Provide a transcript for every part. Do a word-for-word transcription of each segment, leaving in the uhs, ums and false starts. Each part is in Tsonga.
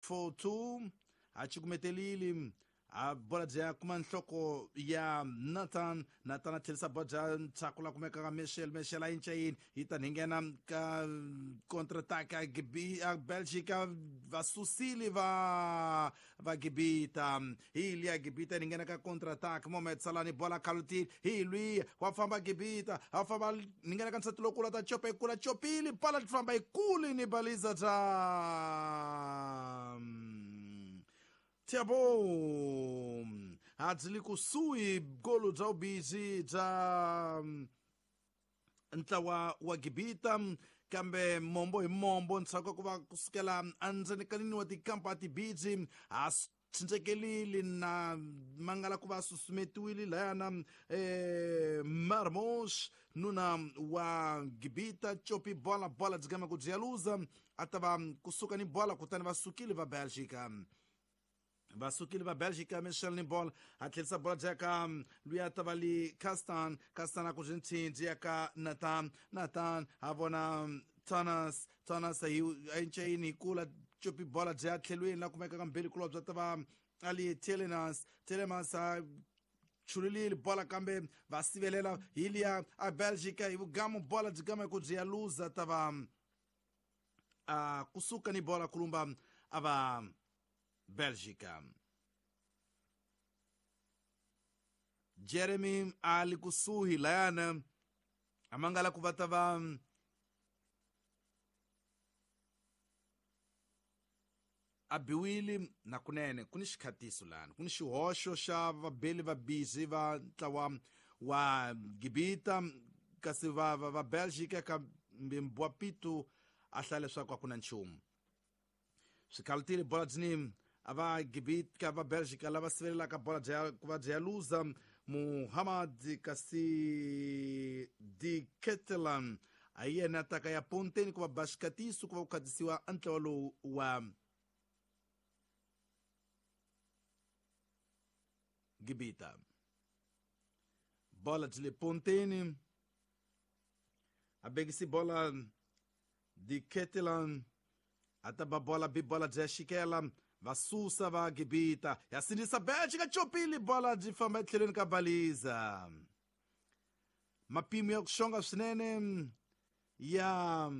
four two a cukumetelile a bola bya kuma nhloko ya Nathan. Nathan a tlherisa bola bya ndzhaku la kumeka ka Michel. Michel a yinca yini yi ta nghena ka contre-attaque a Belgica va susile va va Gibita hi liya Gibita ni nghena ka contre-attaque Mohamed Salah ni bola khalutile hi lwiya wa famba Gibita a famba ni nghena ka nsati lokula ta chopa ikula chopile bola famba ikuli ni baliza ta Thiago adzili kusuhi golo bya ubizi bya ntlawa wa Gibita kambe mombo hi mombo ntsako ku va kusukela endzeni ka nini wa tikampa tibizi a tshintsekelile na mangala ku va susumetiwile layana eh Marmos nuna wa Gibita chopi bola bola dzigama ku byaluza a ta va kusuka ni bola kutani va sukile va Belgica va sukile va Belgica Michel ni bola a tlherisa bola bya ka luya ta va li Castan. Castan a ku byi ya ka Nathan. Nathan a vona Thomas. Thomas a yincayini hi kula chopi bola bya tlhelweni la kumeka ka mbirhi kulobya ta va ali Telemans. Telemans a chululile bola kambe va sivelela hi liya a Belgica hi vugamu bola byi gama ku byi ya luza ta va a kusuka ni bola kulumba a va Belgica. Jeremy ali kusuhi layana amangala ku va ta va a biwile na kunene ku ni xikhatiso lana ku ni xihoxo xa vabeli va bizi va ntlawa wa Gibita kasi va va, va Belgica kambe Mbwapitu a hlaya leswaku a ku na nchumu swikhalutile bola dzini a va Gibita va Belgica lava sivelelaka bola bya ku va bya luza Muhammad kasi Di Ketelan a yena taka ya ponteni ku va ba xikatiso ku va ku khatisiwa ntlawa lowu wa Gibita. Bola byi le ponteni a bekisi bola Di Ketelan a ta ba bola bi bola bya xikela va susa va Gibita ya sindzisa Belgica chopile bola byi famba etlhelweni ka baliza mapimo ya ku xonga swinene ya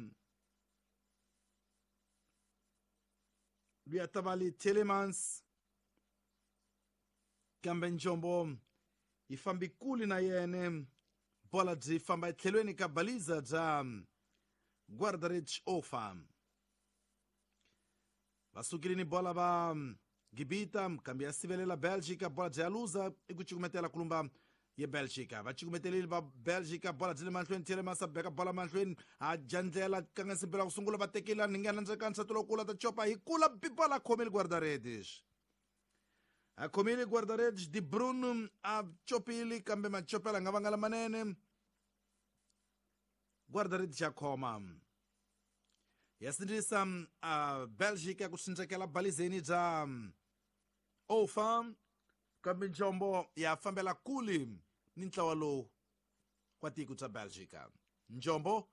luya ta va li Telemans kambe njombo yi fambi kule na yene bola byi famba etlhelweni ka baliza bya Guardarich Ofa. Va sukile ni bola va Gibita kambe ya sivelela Belgica bola bya luza i ku cukumetela kulumba ye Belgica va cukumetelile va Belgica bola byi le mahlweni Telemans a beka bola mahlweni a jandlela kanga ku sungula va tekela ni nghena ndzeni ka nsati lowukulu ta chopa hi kula bola khomile guarda-redes a khomile guarda-redes Di Bruno a chopile kambe machopela nga vanga lamanene guarda-redes ya khoma ya sindzisa a Belgica ku tsindzekela balizeni bya Ofa kambe njombo ya fambela kule ni ntlawa lowu wa tiko bya Belgica njombo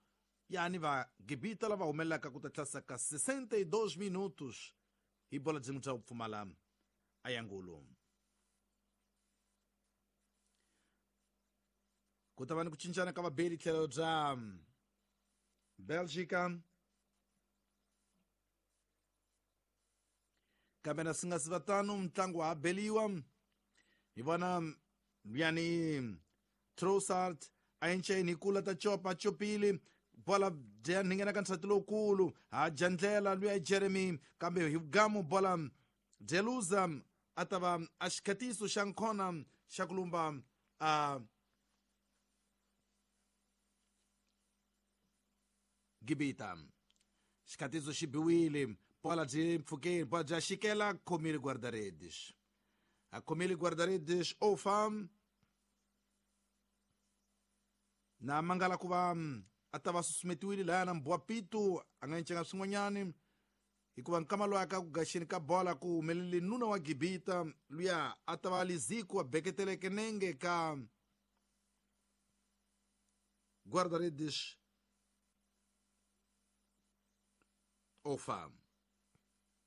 yani va Gibita lava humelelaka ku ta tlasa ka sessenta e dois minutos hi bola byin'we bya ku pfumala ayangulu ku ta va ni ku cincana ka vabeli tlhelo bya Belgica kambe na swi nga si va tano mutlangi wa ha beliwa hi vona yani Trossard a yinceni hi kula ta chopa chopile bola bya nghena ka nsati lowukulu ha jandlela luya Jeremy kambe hi gamu bola Jeluza a ta va a xikhatiso xa nkhona xa ku lumba a Gibita xikhatiso xi biwile bola byi mpfhukeni bola bya xikela khomile guarda-redes a khomile guarda-redes Ofa na mangala ku va a ta va susumetiwile laya na Mbwapitu a nga encenga swin'wanyani hikuva nkama loyi aka ku gaxeni ka bola ku humelele nuna wa Gibita luya a ta va Liziko a beketeleke nenge ka guarda-redes Ofa.